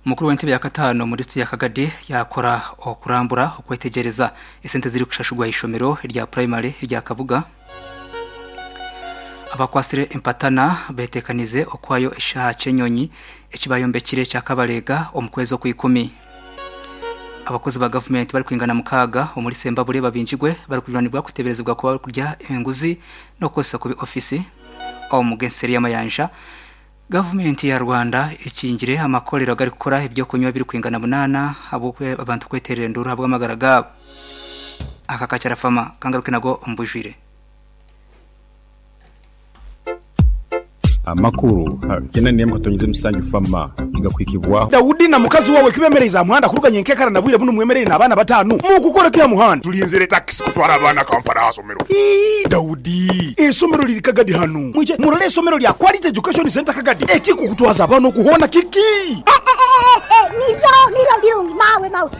Mukuru w'entebe ya kataano omu disiturikiti ya Kagadi yaakora okurambura okwetegyereza esente ezirikushashurwa aha ishomero rya purayimare erya Kabuga. Abakwatsire empatana beteekanize okuhayo eshaaha ky'enyonyi eki bayombekire ekya Kabalega omu kwezi Okwikumi. Abakozi ba gavumenti barikwingana mukaaga omuri Sembabule babingirwe barikujunaanibwa kuteeberezibwa kuba barikurya enguzi n'okukozesa kubi ofiisi omu g'enseri y'amayanja. Gavumenti ya Rwanda ekingire amakorero agarikukora eby'okunywa ebirikwingana munaana ahabw'abantu kweteerera enduuru ahabw'amagara gaabo. Aka kakyarafama kangaruke nago omu bwijwire. Amakuru gena nemu katonyeze musanju fama nigakuhikibwaho. Daudi na mukazi wawe kibemereize aha muhanda kuruga nyenkekara na bwire bunu mwemereire n'abaana batanu mukukora ki aha muhanda? Tulinzire takisi kutwara abaana Kampala aha somero. Ii, Daudi, eisomero liri Kagadi hanu. Mwije murole eisomero lya Quality Education Centre Kagadi. Ekikukutwaza abaana oku hoona kiki? Niryo, niryo birungi mawe, mawe.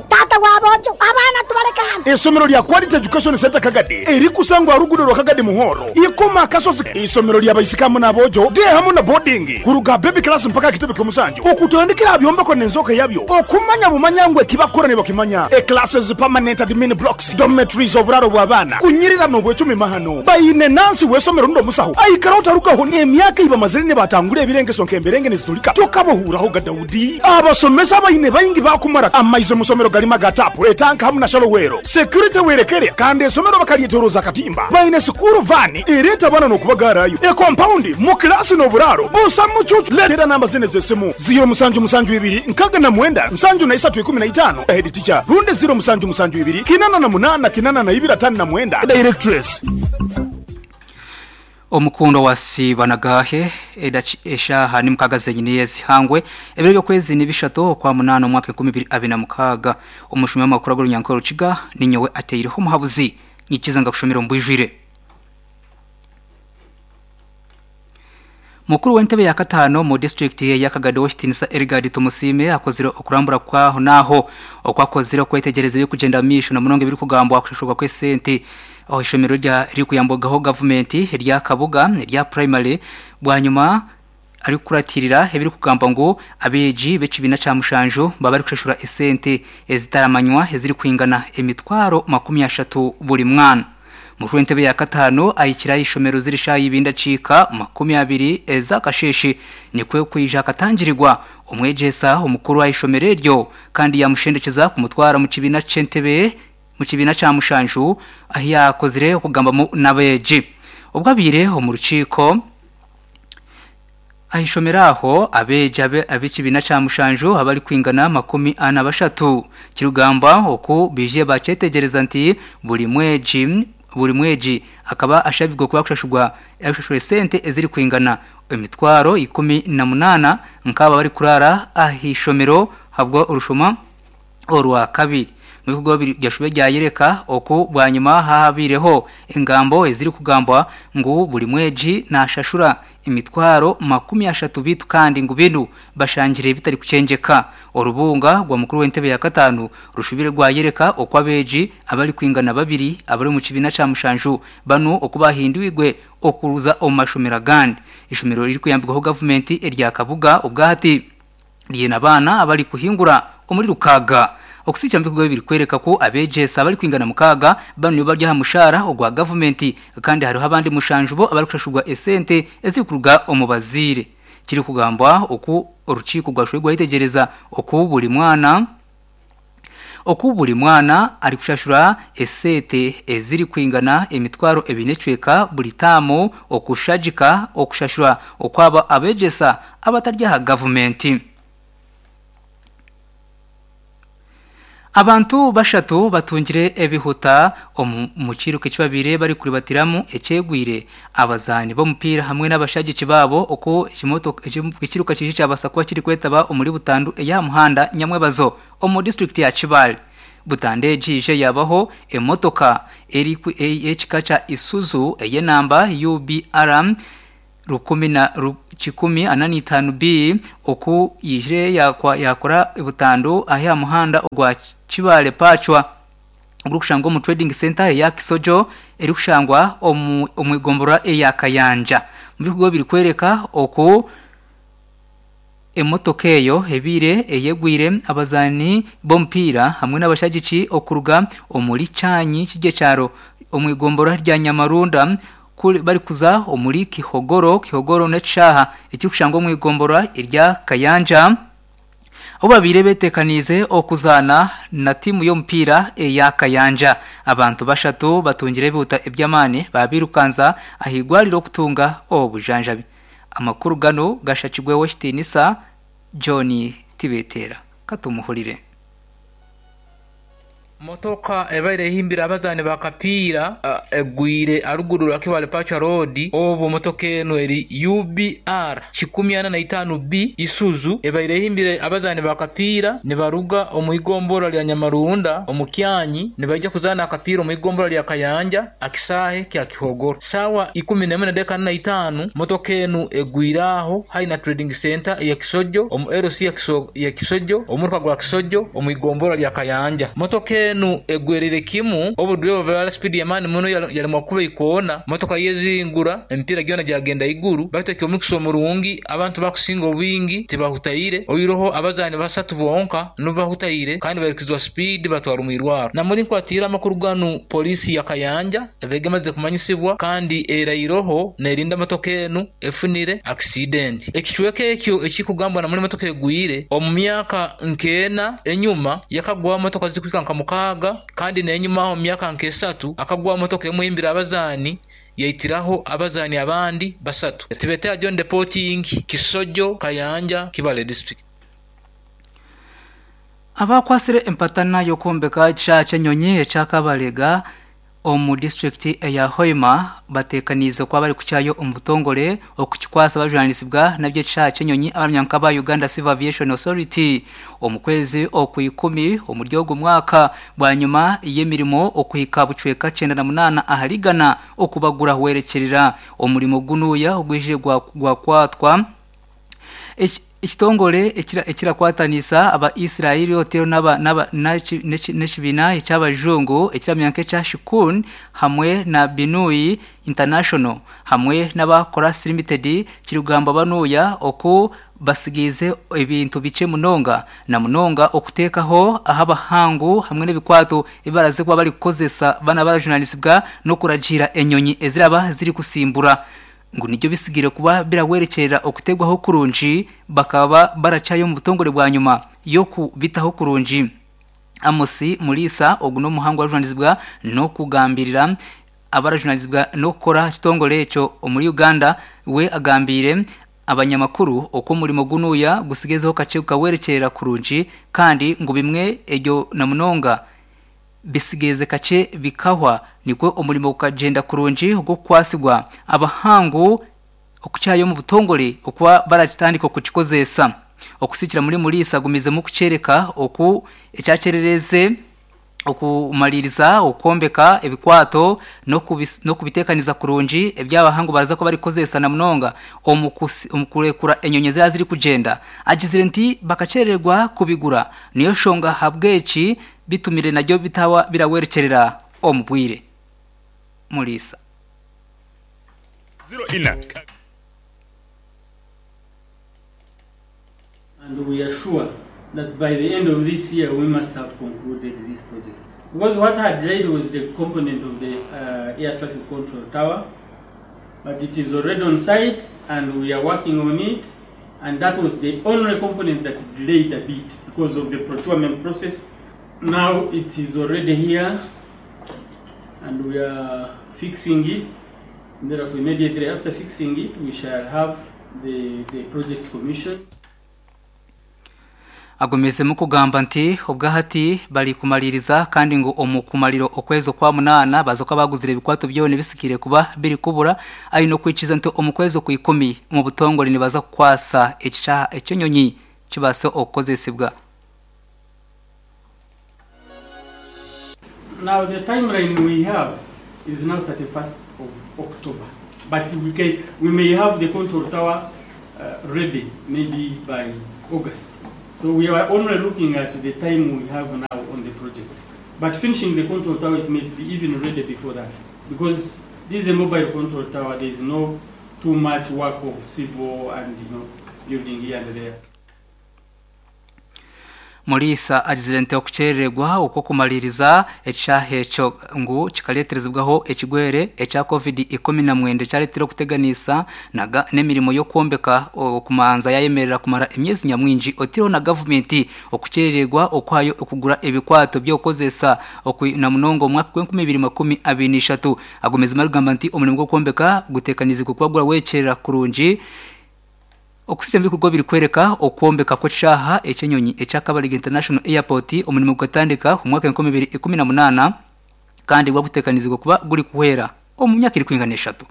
Taata wa boojo, abaana tubaleke hanu. Eisomero lya Quality Education Centre Kagadi erikusangwa aha ruguudo rwa Kagadi Muhoro, Ikoma Akasozi. Eisomero lya baisiki hamu n'aboojo, day hamu na boarding, kuruga aha baby class mpaka aha kitebe ky'omusanju, okutandikira aha byombeko n'enzooka yabyo, okumanya bumanya ngu eki bakukora nibakimanya, e-classes, permanent admin blocks, dormitories, oburaaro bw'abaana, kunyirira n'obwecumi mahano. Baine nansi w'eisomero rundi omusaho aikaraho tarugaho n'emyaka ei bamazire nibatangura ebirengeso nk'emberenge niziturika tokabahuuraho ga Daudi. Abasomesa abaine baingi baakumara amaizi omu somero garimu aga taapu, etanka hamu na shalowero. Security werekere kandi eisomero bakaryetoroza akatimba. Baine sikuuru vaani ereeta abaana n'okubagaarayo, ekompaundi, mu kilaasi n'oburaaro busa mucuucu. Leetera namba zinu ez'esimu, ziiro musanju musanju ibiri nkaaga na mwenda nsanju na isatu ikumi na itaano, Head teacher, rundi ziiro musanju musanju ibiri kinana na munaana kinana na ibiri ataano na mwenda, Directress. Omukundwa wa Sibanagahe, Eshaaha ni mukaaga zenyini ezihangwe, ebiro by'okwezi ni bishatu Okwamunaana omwaka 2026. Omushumi w'amakuru ag'orunyankore Rukiga ninyowe ateireho omuhabuzi, nyikiza ngakushomera omu bwijwire. Mukuru w'entebe ya kataano omu disiturikiti eya Kagadi Ow'ekitiinisa Erigard Tumusiime akozire okurambura kw'aho n'aho oku akozire okwetegyereza ebirikugyenda omu maisho na munonga ebirikugambwa aha kushashurwa kw'esente aha ishomero eririkuyambwagaho gavumenti erya Kabuga erya purayimare bwanyima arikukuratirira ebirikugambwa ngu abeegi b'ekibiina kya mushanju baba barikushashura esente ezitaramanywa ezirikwingana emitwaro 30 buri mwana. Mukuru w'entebe ya kataano ahikire aha ishomero ziri shaaha ibiri n'edakiika 20 ez'akasheeshe nikwo kwija akatangirirwa omwegyesa omukuru aha ishomero eryo kandi yaamushendekyeza kumutwara omu kibiina ky'entebe mu kibiina kya mushanju ahu yaakozire okugambamu n'abeegi. Obwo abaire omu rukiiko aha ishomero aho, abeegi ab'ekibiina kya mushanju abarikwingana 43 kirikugambwa oku baije baakyetegyereza nti buri mwegi buri mwegi akaba ashabirwe kuba arikushashurwa arikushashura esente ezirikwingana emitwaro 18 nk'abo abarikuraara aha ishomero ahabwa orushoma Orwakabiri, mu bikorwa byashube byayereka oku bwanyima haabaireho engambo ezirikugambwa ngu buri mwegi naashashura emitwaro 30 beitu kandi ngu binu bashangire bitarikukyengyeka. Orubunga rwa mukuru w'entebe ya kataano rushubire rwayereka oku abeegi abarikwingana babiri abari omu kibiina kya mushanju banu oku baahindwirwe okuza omu mashomero agandi. Eishomero eririkuyambibwaho gavumenti erya Kabuga obwahati. Riine abaana abari kuhingura omuri rukaaga. Okusiikya omu bikorwa ebi birikworeka ku abeegyesa abarikwingana mukaaga banu nibo bari aha mushaara ogwa gavumenti kandi hariho abandi mushanju bo abarikushashurwa esente ezirikuruga omu bazaire. Kirikugambwa oku orukiiko rwashohire rwayetegyereza oku buri mwana Oku buri mwana arikushashura esente ezirikwingana emitwaro ebiri n'ekicweka buri taamu okushagika okushashura okw'abo abeegyesa abatari aha gavumenti. Abantu bashatu batungire ebihuta omu kiiruka eki babaire barikuribatiramu ekyegwire abazaani b'omupiira hamwe n'abashagiki baabo oku ekiiruka kije kyabaasa kuba kirikwetaba omuri butandu ey'aha muhanda Nyamwebazo. Omu disiturikiti ya Kibaale, butandu egi eija yaabaho emotoka ey'ekika kya Isuzu ey'enamba UBR 1405B oku yaijire yaakora butandu aha muhanda ogwa Kibaale-Pacwa ogurikushangwa omu Trading Centre eya Kisojo erikushangwa omu igomborora eya Kayanja. Omu bikorwa birikworeka oku. Emotoka eyo ebaire eyegwire abazaani b'omupiira hamwe n'abashagiki okuruga omuri Kyanyi Kigyekyaaro omu igomborora rya Nyamarunda barikuza omuri Kihogoro. Kihogoro n'ekishaaha ekirikushangwa omu igomborora erya Kayanja ahu babaire beteekaniize okuzaana na tiimu y'omupiira eya Kayanja. Abantu bashatu batungire ebihuta eby'amaani baabirukanza ah'eirwariro kutunga obujanjabi. Amakuru ganu gashakirwe Ow'ekitiinisa John Tibetera. Katumuhurire. Motoka ebaire ehimbire abazaani ba kapiira egwire aharuguru rwa Kibale Pacha Road obwo motoka enu eri UBR 405B Isuzu ebaire ehimbire abazaani ba kapiira nibaruga omu igombolola lya Nyamarunda omu Kyanyi nibaija kuzaana akapiira omu igombolola lya Kayanja akisaahe kya Kihogoro. Saawa ikumi n'emwe n'edakiika ana na itaanu, motoka enu egwire aho haihi na Trading Centre eya Kisojo omu LC ya Kisojo omuruka gwa Kisojo omu igombolola lya Kayanja. Motoka enu egwereire kimu obu dureeva baba ali sipiidi y'amaani muno yalemwa kukuba eikoona, motoka yezingura emipiira gyona gyagenda aiguru. Baitu eky'omukisa omurungi abantu abakusinga obwingi tibahutaire oihireho abazaani basatu bonka nibo bahutaire kandi bairukizibwa sipiidi batwarwa omu irwarro. Namuri nkwatiire amakuru ganu poliisi ya Kayanja Ebeega emazire kumanyisibwa kandi erairoho neerinda motoka enu efunire akisidenti. Ekicweka ekyo ekirikugambwa na muri motoka egwire, omu myaka nk'ena enyuma yakagwaho motoka zirikuhika nka mukaaga kandi n'enyuma aho omu myaka nk'esatu akagwaho motoka emwe ehimbire abazaani yaitiraho abazaani abandi basatu. Tibetera John de Poting, Kisojo, Kayanja, Kibale District. Abakwatsire empatana y'okwombeka ekishaaha ky'enyonyi ekya Kabalega omu disiturikiti eya Hoima bateekaniize kuba barikukyayo omu butongore okukikwasa abajunaanizibwa n'eby'ekishaaha ky'enyonyi abaramya nk'aba Uganda Civil Aviation Authority omu kwezi Okwikumi omuri ogu mwaka bwanyima y'emirimo okuhika bucweka 98 ahari igana okuba gurahwerekyerera. Omurimo gunuya ogwije gwakwatwa Ekitongore ekirakwataniisa aba Israeli oteireho n'ekibiina eky'abajungu ekiramanywa nk'ekya Shikun hamwe na Binui International hamwe n'aba Koras Limited kirikugambwa banuya oku batsigaize ebintu bikye munonga na munonga okuteekaho ah'abahangu hamwe n'ebikwato ebi baraze kuba barikukozesa baana barajunaanizibwa n'okuragiira enyonyi eziraba zirikutsimbura. Ngu nibyo bitsigaire kuba birahwerekyerera okuteebwaho kurungi bakaba barakyayo omu butongore bwanyima y'okubitaho kurungi. Amos Muriisa ogu n'omuhangu arikujunanizibwa n'okugambirira abarajunanizibwa n'okukora aha kitongore ekyo omuri Uganda we agambiire abanyamakuru oku omurimo gunuya gutsigezeho kakye gukahwerekyerera kurungi kandi ngu bimwe eryo namunonga Bisigaize kakye bikahwa, nikwo omurimo gukagyenda kurungi ogw'okukwatsibwa abahangu okukyayo omu butongore okuba barakitandika okukikozesa. Okusikira muri Muriisa agumizemu kukyereka oku ekyakyerereze okumariiriza okwombeka ebikwato n'okubiteekaniza kurungi ebi abahangu baraza kuba barikukozesa na munonga omu kurekura enyonyi eziraba zirikugyenda. Agizire nti bakakyerererwa kubigura niyo nshonga ahabw'eki bitumire naryo bitaba birahwerekyerera omu bwire. Muriisa. And we are sure that by the end of this year we must have concluded this project because what had delayed was the component of the uh, air traffic control tower but it is already on site and we are working on it and that was the only component that delayed a bit because of the procurement process. Now it is already here and we are fixing it. And therefore, immediately after fixing it, we shall have the, the project commission. Agumizemu kugamba nti obwahati bari kumariiriza kandi ngu omu kumarira okwezi okwamunaana baaza kuba baaguzire ebikwato byona ebisigaire kuba birikubura aine okwikiriza nti omu kwezi okwikumi omu butongore nibaza kukwasa ekishaaha eky'enyonyi kibaase okukozesibwa. Now the timeline we have is now 31st of October but we can we may have the control tower uh, ready maybe by August. So we are only looking at the time we have now on the project. But finishing the control tower, it may be even ready before that. Because this is a mobile control tower, there is no too much work of civil and you know, building here and there. Muriisa agizire nti okukyerererwa okw'okumaririza ekishaaha ekyo ngu kikareeterezibwaho ekigwere ekya Covid 19 ekyareetire okuteganiisa n'emirimo y'okwombeka okumanza yayemerera kumara emyezi nyamwingi oteireho na gavumenti okukyerererwa okuhayo okugura ebikwato by'okukozesa na munonga omu mwaka gw'enkumi ibiri 23. Agumizemu arikugamba nti omurimo gw'okwombeka guteekaniizibwe kuba gurawekyerera kurungi Okuhitsya omu bikorwa birikworeka okwombeka kw'ekishaaha eky'enyonyi ekya Kabalega International Airport, omurimo gukatandika omu mwaka 2018 kandi gwaguteekanizibwa kuba gurikuhwera omu myaka erikwingana eshatu.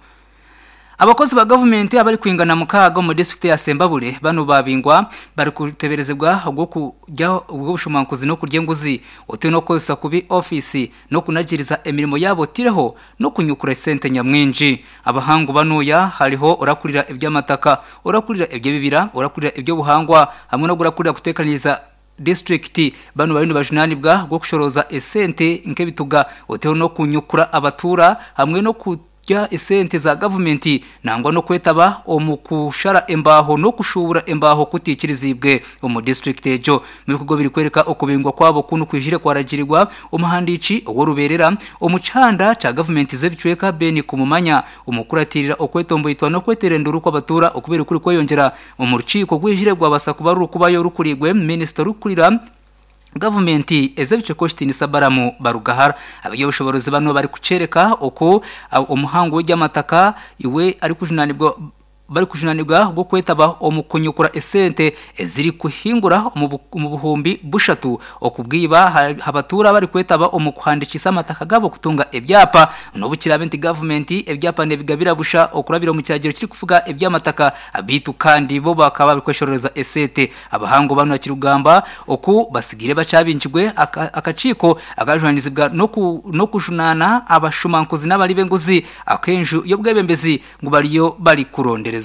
Abakozi ba gavumenti abarikwingana mukaaga omu disiturikiti eya Sembabule banu babingwa barikuteeberezibwa ogw'okurya ogw'obushumankuzi n'okurya enguzi oteire n'okukozesa kubi ofiisi n'okunagiiriza emirimo yaabo oteireho n'okunyukura esente nyamwingi. Abahangu banuya hariho orakurira eby'amataka, orakurira eby'ebibira, orakurira eby'obuhangwa hamwe n'ogurakurira kuteekaniriza disiturikiti. Banu bariyo nibajunaanibwa ahabw'okushorooza esente nk'ebituga oteho n'okunyukura abatuura hamwe n'okurya esente za gavumenti nangwa n'okwetaba omu kushara embaaho n'okushuubura embaaho kutiikiriziibwe omu disiturikiti egyo. Ebikorwa birikworeka okubingwa kwabo kunu kwijire kwaragirirwa omuhandiiki ow'orubeerera omu kihanda kya gavumenti z'ebicweka Ben Kumumanya omu kukuratiirira okwetomboitwa n'okweteera enduru kw'abatuura okubaire kuri kweyongyera omu rukiiko rwijire rwabasa kuba rurikubayo rukuriirwe minisita orikukurira gavumenti ez'ebicweka Owekitiinisa Balaam Barugahara. Abeby'obushoboorozi banu barikukyoreka oku omuhangu w'eby'amataka iwe arikujunaanibwa Barikujunanibwa ahabw'okwetaba omu kunyukura esente ezirikuhingura omu buhumbi bushatu okubwiba aha batuura abarikwetaba omu kuhandikiisa amataka gaabo kutunga ebyapa. N'obu kiraabe nti gavumenti ebyapa nebigabira busha okurabira omu kiragiro kirikufuga eby'amataka beitu kandi bo bakaba barikweshororeza esente. Abahangu banu akirikugamba oku basigaire bakyabingirwe akakiiko akajunanizibwa n'okujunaana abashumankuzi n'abari b'enguzi ak'enju y'obwebembezi ngu bariyo barikurondereza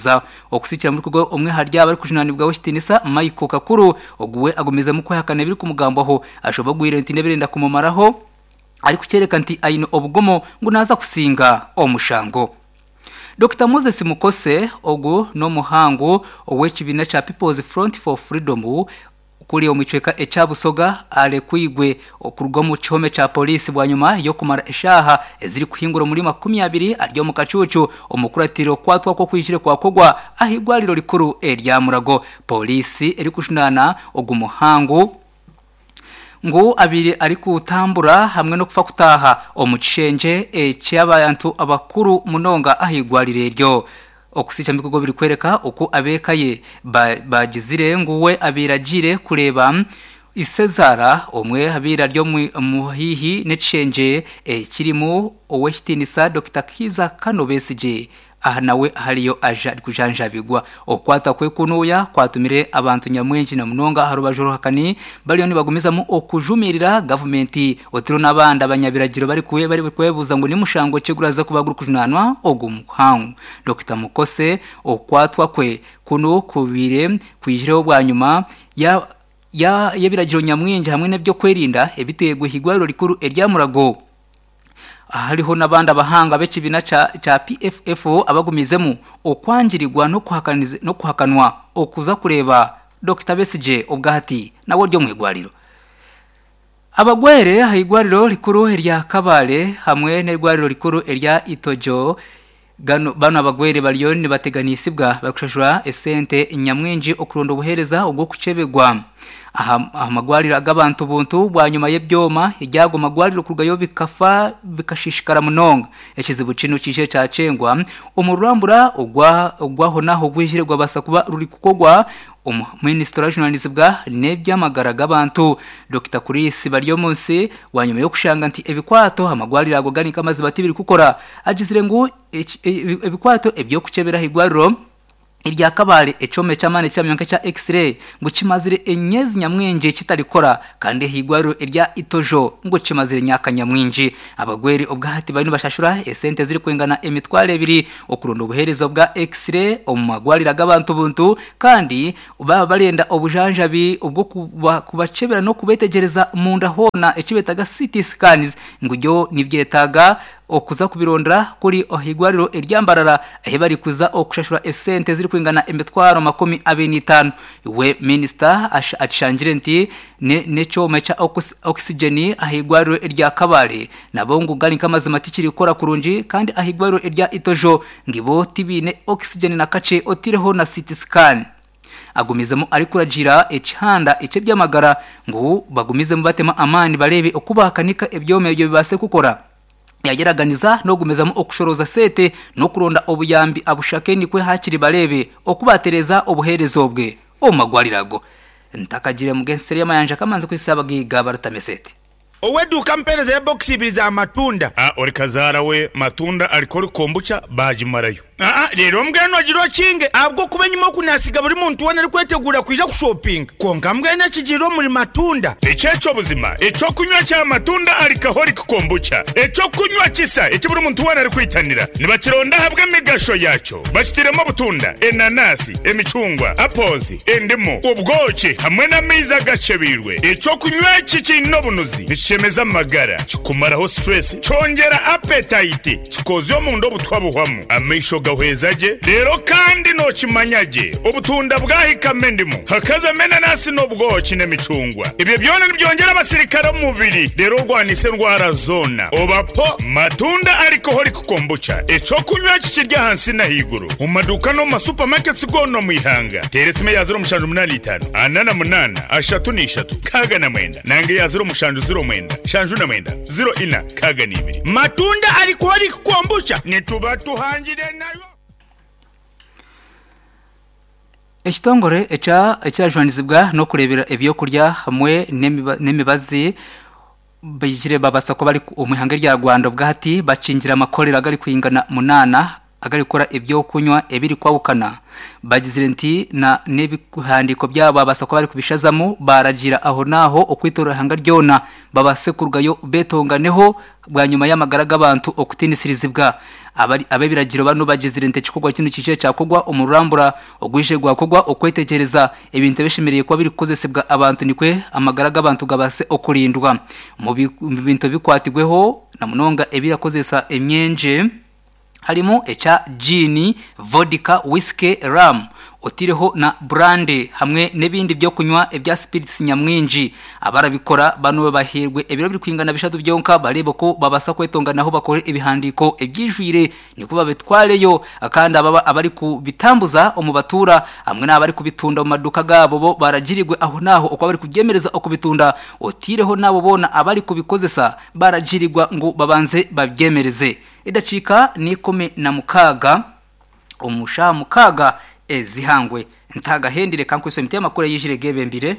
okusikira muri kugo omwe ahari aba arikujunanibwaho ekitinisa Michael Kakuru ogu we agumizemu kwehakana ebirikumugambwaho ashobogwire nti nebirenda kumumaraho arikukyoreka nti aine obugomo ngu naza kusinga omushango. Dokita Moses Mukose ogu n'omuhangu ow'ekibiina kya People's Front for Freedom Kuri omu kicweka ekya Busoga arekwirwe okuruga omu kihome kya Pooriisi bwanyima y'okumara eshaaha ezirikuhingura omuri 20 ari omu kacuucu omukuratira okukwatwa kwe okwijire kwakorwa ah'eirwariro rikuru erya Mulago. Pooriisi erikujunaana ogu muhangu ngu abaire arikutambura hamwe n'okufa kutaaha omu kishengye eky'abantu abakuru munonga ah'eirwariro eryo. Okusiisha mikogo birikworeka oku ab'eka ye baagizire ngu we abaire agiire kureeba Isezaara, omwe abaire ari omu haihi n'ekishengye ekirimu Ow'ekitiinisa Dokita Kiiza Kano Besigye aha nawe ahariyo aja arikujanjabigwa. Okukwata kwe kunuya kwatumire abantu nyamwingi na munonga aha rubaju oruhakani bariyo nibagumizamu okujumirira gavumenti otiro n'abandi abanyabiragiro barikwebuuza ngu ni mushango ki oguraza kuba gurikujunaanwa ogu muhangu. Dokita Mukose okukwatwa kwe kunu kubaire kwijireho bwanyima ya y'ebiragiro nyamwingi hamwe n'eby'okwerinda ebiteirwe ah'eirwariro rikuru erya Mulago. Hariho n'abandi abahanga b'ekibiina kya PFF abagumiizemu okwangirirwa n'okuhakanwa okuza kureeba Dokita Besigye obwahati nawe ori omu irwariro. Abagwere aha irwariro rikuru erya Kabale hamwe n'eirwariro rikuru erya Itojo gano banu abagwere bariyo nibateganisibwa barikushashura esente nyamwingi okuronda obuheereza obw'okukyebegwa aha aha magwariro ag'abantu buntu bwanyima y'ebyoma ebyago magwariro kurugayo bikafa bikashishikara munonga. Ekizibu kinu kiijire kyakyengwa omu rurambura ogwa ogw'ahonaho ogwijire gwabaasa kuba rurikukorwa Omu Minisita orajunanizibwa n'eby'amagara g'abantu, Dokita Chris Baryomunsi bwanyima y'okushanga nti ebikwato amagwariro ago gari nk'amaziba tibirikukora, agizire ngu ebikwato eby'okukyebera ah'eirwariro erya Kabale ekyoma eky'amaani ekiramanywa nk'ekya X-ray ngu kimazire emyezi nyamwingi kitarikukora kandi ah'eirwariro erya Itojo ngu kimazire emyaka nyamwingi. Abagwere obwahati bariyo nibashashura esente ezirikwingana emitwaro ebiri okuronda obuheereza bwa X-ray omu magwariro ag'abantu buntu kandi baaba barenda obujanjabi obw'okubakyebera n'okubetegyereza munda hoona eki beetaga CT scans ngu byo nibyetaaga. Okuza kubirondera kuri ah'eirwariro erya Mbarara ahi barikuza okushashura esente ezirikwingana 250,000. We minisita akishangire nti n'ekyoma ekya oxygen ah'eirwariro erya Kabale nabo ngu gari nk'amazima tikirikukora kurungi kandi ah'eirwariro erya Itojo ngu bo tibaine oxygen na kakye otaireho na CT scan. Agumizemu arikuragiira ekihanda eky'eby'amagara ngu bagumizemu batemu amaani bareebe oku baakanika ebyoma ebyo bibaase kukora. Yagyeraganiza n'okugumizamu okushorooza sente n'okuronda obuyambi abushake nikwo hakiri bareebe oku baatereeza obuheereza obwe omu magwariro ago. Ntakagire mugenseri y'amayanja kamanzi kuhitsya abagaiga barutame sente. Ow'eduuka ampeereza ebokisi ibiri za matunda. A Ori kazaara we matunda alcoholic kombucha baagimarayo. Aa Reero mbwenu ogire okinge, ahabw'okuba enyima oku naasiga buri muntu weena arikweteguura kwija kushopinga. Kwonka mbwenu ekigiire omuri matunda. Eki eky'obuzima, eky'okunywa kya matunda alcoholic kombucha, eky'okunywa kisa eki buri muntu weena arikwitanira. Nibakironda ahabw'emigasho yaakyo. Bakitairemu obutunda, enanasi, emicungwa, apples, endimu, obwoki hamwe n'amaizi agakyebeirwe. Eky'okunywa eki kiine obunuzi, nikishemeza amagara, kikumaraho stress, kyongyera appetite, Kikoozya omunda obutwa buhwamu, amaisho gahweza gye, reero kandi nookimanya gye obutunda bwahikamu endimu, hakazamu enanasi n'obwoki n'emicungwa. Ebyo byona nibyongyera abasirikare omu mubiri reero orwanise endwara zoona. Oba po Matunda Alcoholic Kombucha, eky'okunywa eki kiri ahansi n'ahaiguru omu maduuka n'omu ma supermarkets goona omu ihanga. Teera esimu eya 0785 48 33 69 nanga eya 0709 79 04 62. Matunda Alcoholic Kombucha nituba tuhangire nayo. Ekitongore ekya ekirajwanizibwa n'okureeberera ebyokurya hamwe n'emibazi baijire babaasa kuba bari omu ihanga erya Rwanda obwahati bakingire amakorero agarikwingana munaana agarikukora eby'okunywa ebirikwahukana. Bagizire nti na n'ebihandiiko byabo baabaasa kuba barikubishazamu baaragiira ahonaaho okwetoorora eihanga ryona babaase kurugayo beetonganeho bwanyima y'amagara g'abantu okutiinisirizibwa. Ab'ebiragiro banu bagizire nti ekikorwa kinu kiije kyakorwa omu rurambura ogwije gwakorwa okwetegyereza ebintu ebishemereire kuba birikukozesibwa abantu nikwo amagara g'abantu gabaase okurindwa. Omu bintu ebikwatirweho na munonga ebirakozesa emyengye, Harimu ekya Gin, Vodka, Whiskey, Rum, otaireho na Brandy hamwe n'ebindi by'okunywa ebya spirits nyamwingi. Abarabikora banu bahairwe ebiro birikwingana bishatu byonka bareebe oku babaasa kwetonganaho bakore ebihandiiko ebyijwire nikwo babitwareyo kandi abo abarikubitambuza omu batuura hamwe n'abarikubitunda omu maduuka gaabo bo baragirirwe ahonaaho oku barikubyemereza okubitunda otaireho n'abo boona abarikubikozesa baragirirwa ngu babanze babyemereze. Edakiika n'ikumi na mukaaga omu shaaha mukaaga ez'eihangwe. Ntagahendire ka nkwitse emiti y'amakuru eyijire gebembire.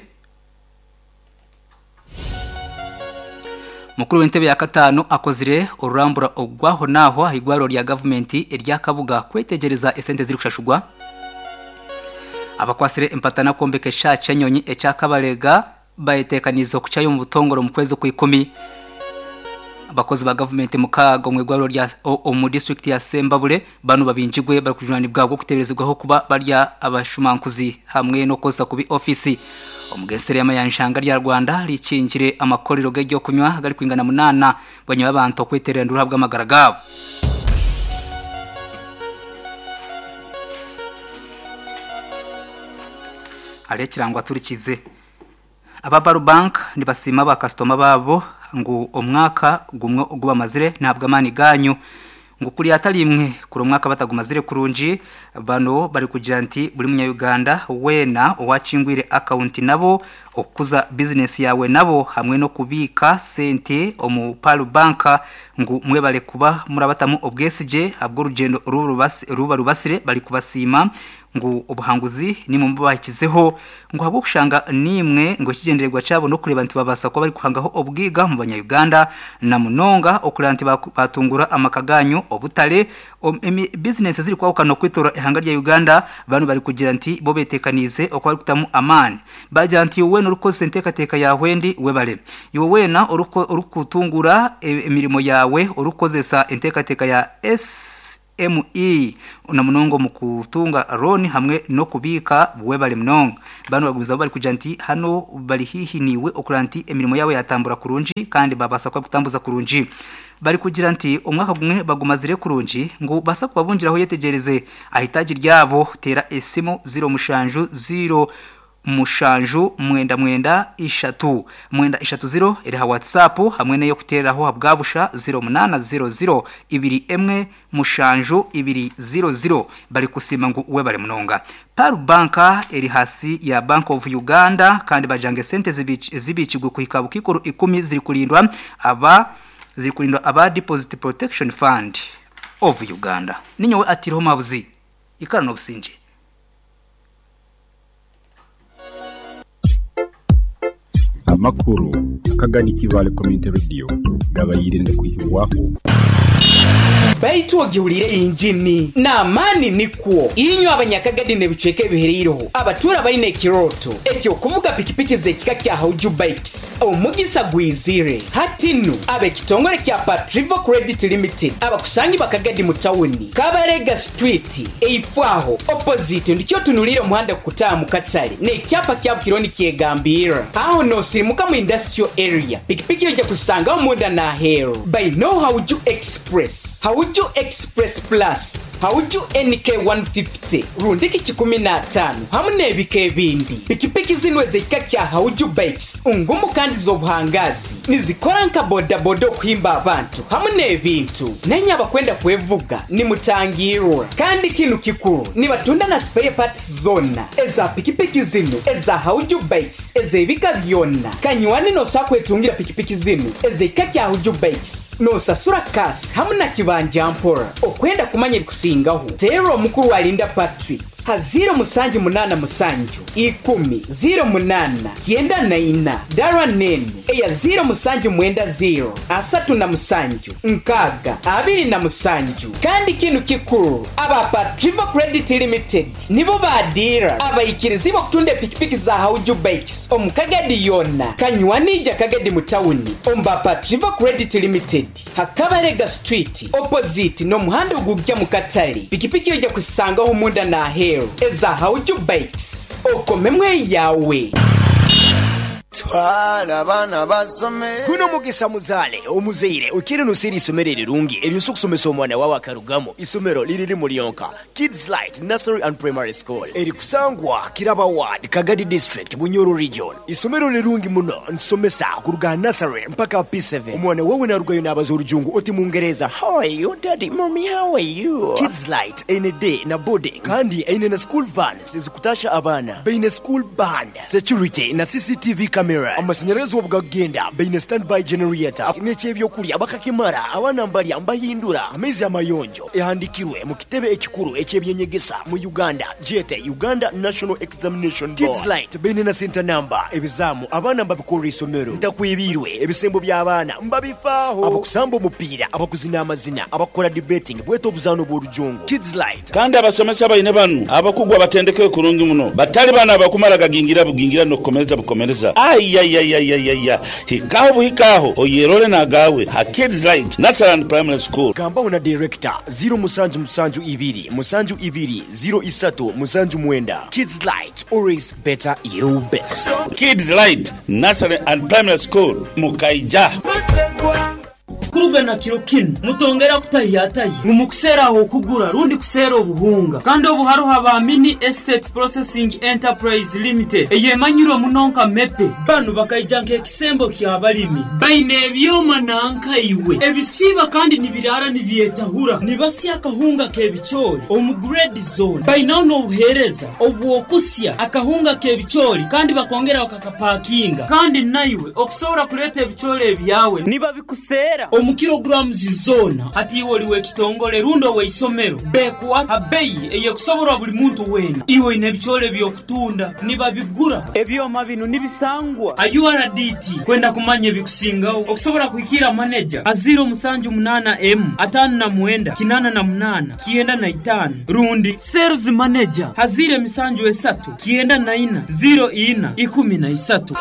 Mukuru w'entebe ya kataano akozire orurambura ogw'aho n'aho aha igwariro rya gavumenti erya Kabuga kwetegyereza esente ezirikushashurwa abakwatsire empatana kwombeka ekishaaha ky'enyonyi ekya Kabalega. Bayeteekaniize okukyayo omu butongore omu kwezi okw'ikumi. Abakozi ba gavumenti mukaaga omu igwariro rya omu disiturikiti ya Sembabule banu babingirwe barikujunaanibwa ahabw'okuteeberezibwaho kuba bari abashumankuzi hamwe n'okukozesa kubi ofiisi. Omugesera y'amayanja ihanga rya Rwanda rikingire amakorero g'ebyokunywa agarikwingana munaana bwanyima y'abantu okweteerera enduuru ahabw'amagara gaabo. Hariho ekirango aturikize. Aba Baru Bank nibasiima ba kasitoma baabo ngu omwaka gumwe ogu bamazire nahabw'amaani gaanyu ngu kuri atari imwe kuri omwaka batagumazire kurungi. Bano barikugira nti buri munya Uganda weena owakingwire akawunti nabo okukuza bizinesi yaawe nabo hamwe n'okubiika sente omu Pearl Bank ngu mwebare kuba murabatamu obwesigye ahabw'orugyendo oru barubasire barikubasiima ngu obuhanguzi nimwe mububahikizeho, ngu ahabw'okushanga nimwe ngu ekigyendererwa kyabo n'okureeba nti babaasa kuba barikuhangaho obwiga omu banya Uganda na munonga okureeba nti batunguura amaka gaanyu, obutare, emi bizinesi ezirikwahukana okwetoorora eihanga rya Uganda. Banu barikugira nti bo beteekaniize okuba barikutamu amaani. Baagira nti iwe weena orikukozesa enteekateeka yaawe endi webare. Iwe weena orikutunguura emirimo yaawe orikukozesa enteekateeka ya S. ME, na munonga omu kutunga looni hamwe n'okubiika webare munonga. Banu bagumizamu barikugira nti hanu bari haihi naiwe okureba nti emirimo yaabo yatambura kurungi kandi babaasa kuba barikutambuza kurungi. Bari kugira nti omwaka gumwe bagumazire kurungi ngu basa kubabungiraho yetegereze ahitaji ryabo tera esimu 07 0 mushanju mwenda mwenda ishatu mwenda ishatu ziro eri ha whatsapp hamwe neyo kuteraho habwabusha 0800 ibiri emwe mushanju ibiri 00 bari kusima ngu we bari munonga Paru banka eri hasi ya Bank of Uganda kandi bajange sente zibikigwe kuhika bukikuru 10 ziri kulindwa aba ziri kulindwa aba Deposit Protection Fund of Uganda. Ninyowe atiriho mabuzi ikara no businje. Amakuru akagani Kivale Community Radio gabayirinde kuhibwaho. Baitu ogihulire injini n'amaani nikwo inywe abanyakagadi n'ebicweka ebihereireho abatuura baine ekirooto ekyokuvuga pikipiki z'ekika kya Hauju Bikes omugisa gwizire hati nu ab'ekitongole kya Patrivo Credit Limited abakusangi bakagadi mu tawuni Kabarega Street eifwaho opposite ndikyo tunulire omuhanda kukutaaha mu katale n'ekyapa kya Bukironi kyegambirra aho nosirimuka mu industrial area pikipiki ojja kusangaho munda n'aheeru baino Hauju Express Hauju Express Plus, Hauju NK 150, rundiki kikumi n'ataano hamu n'ebika ebindi. Pikipiki zinu ez'ekika kya Hauju Bikes ngumu kandi z'obuhangazi nizikora nka bodaboda okuhimba abantu hamu n'ebintu. Nenye abakwenda kwevuga nimutangirwa. Kandi kinu kikuru nibatunda na spare parts zona eza pikipiki zinu eza Hauju Bikes ez'ebika byona. Kanywani nosa kwetungira pikipiki zinu ez'ekika kya Hauju Bikes nosasura kasi hamu na kibanja mpora. Okwenda kumanya ebikusingaho teera omukuru Alinda Patrick ha 0787 10 08 94 dara nenu eya 0790 37 6 27. Kandi kinu kikuru aba Patrivo Credit Limited nibo badira abaikirizi bokutunda epikipiki za Hauju Bikes omukagadi yona kanywanija kagadi mu tawuni omba Patrivo Credit Limited Hakabarega Street opposite n'omuhanda ogujja mu katale pikipiki ojja kusangaho munda n'aheeru eza Hauju Bikes okomemwe yawe. Twala abaana basome. Guno mugisa muzaale omuzaire okire nosera eisomero erirungi eryosa okusomesa omwana wawe akarugamu. Isomero liri limu lyonka, Kids Light Nursery and Primary School eri kusangwa Kiraba Ward, Kagadi District, Bunyoro Region. Isomero lirungi muno nsomesa kuruga aha nursery mpaka P7. Omwana wawe narugayo nabaza orujungu oti mungereza, How are you daddy, mommy how are you? Kids Light eine day na boarding kandi eine na school vans ezikutasha abaana. Baine school band, security na CCTV cameras. Amasanyarazi obu gakugenda baine standby generator n'eky'ebyokurya bakakimara abaana mbarya mbahindura amaizi amayonjo. Ehandikirwe mu kitebe ekikuru eky'ebyenyegesa mu Uganda gyete Uganda National Examination Board. Kids Light baine na center number ebizaamu abaana mbabikorera eisomero ntakwebirwe ebisembo by'abaana mbabifaaho abakusamba omupiira abakuzina amazina abakukora debating bwete obuzaano bw'orujungu. Kids Light. Kandi abasomesa baine banu abakugu abatendekeirwe kurungi muno, batali banu abakumara gagingira bugingira n'okukomereza bukomereza. Aiyaiyaiyaiya! Hikaho buhikaho oyerore n'agaawe ha Kids Light Nursery and Primary School. Gambaho na Director, ziro musanju musanju ibiri musanju ibiri ziro isatu musanju mwenda. Kids Light, always better you best. Kids Light Nursery and Primary School, Mukaija. Kuruga na kiro kinu, mutongera kutahiyatahya ngu mukuseera ah'okugura rundi kuseera obuhunga. Kandi obu haruho aba Mini Estate Processing Enterprise Limited eyemanyirwe muno nka MEPE. Banu bakaija nk'ekisembo ky'abalimi. Baine ebyoma nanka iwe ebisiiba kandi nibiraara nibyetahura. Nibasya akahunga k'ebicoori omu grade zone. Bainaho n'obuheereza obw'okusya akahunga k'ebicoori kandi bakongera bakakapakinga. Kandi naiwe okusobora kuleeta ebicoori ebyawe nibabikuseera omu kilograms zoona. Hati iwe oli w'ekitongole rundi ow'eisomero, beekuha ha beyi ey'ekusoborwa buli muntu weena. Iwe oine ebicoori eby'okutunda, nibabigura. Ebyoma binu nibisangwa ha URDT. Kwenda kumanya ebikusingaho, okusobora kuhikiira maneja ha ziiro musanju munaana emu, ataano na mwenda, kinaana na munaana, kyenda na itaano rundi sales manager ha ziiro emisanju esatu, kyenda na ina, ziiro ina, ikumi na isatu.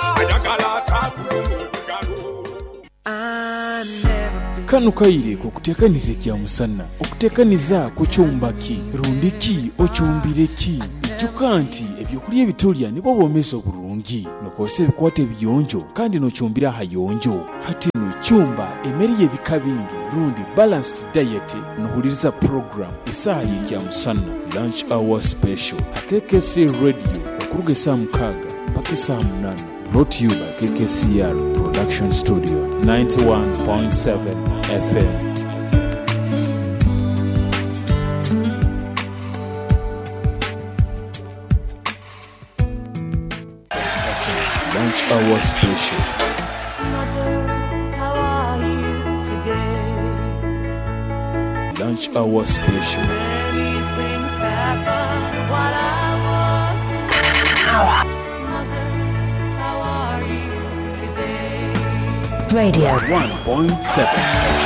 Kanu kaire k'okuteekaniza ekyamusana. Okuteekaniza kucumba ki? Rundi ki ocumbire ki? Ijuka nti ebyokulya ebitulya nibwo bwomeezi oburungi. Nokozesa ebikwato ebiyonjo kandi nocumbira ahayonjo. Hati nu cumba emere y'ebika bingi. rundi Balanced Diet nohuliriza program Esaaha y'Ekyamusana, Lunch Hour Special, ha KKC Radio okuruga esaaha mukaaga mpaka esaaha munaana. Brought to you by KKCR Production Studio, 91.7 FM. Lunch Hour Special. Lunch Hour Special. Radio. 1.7.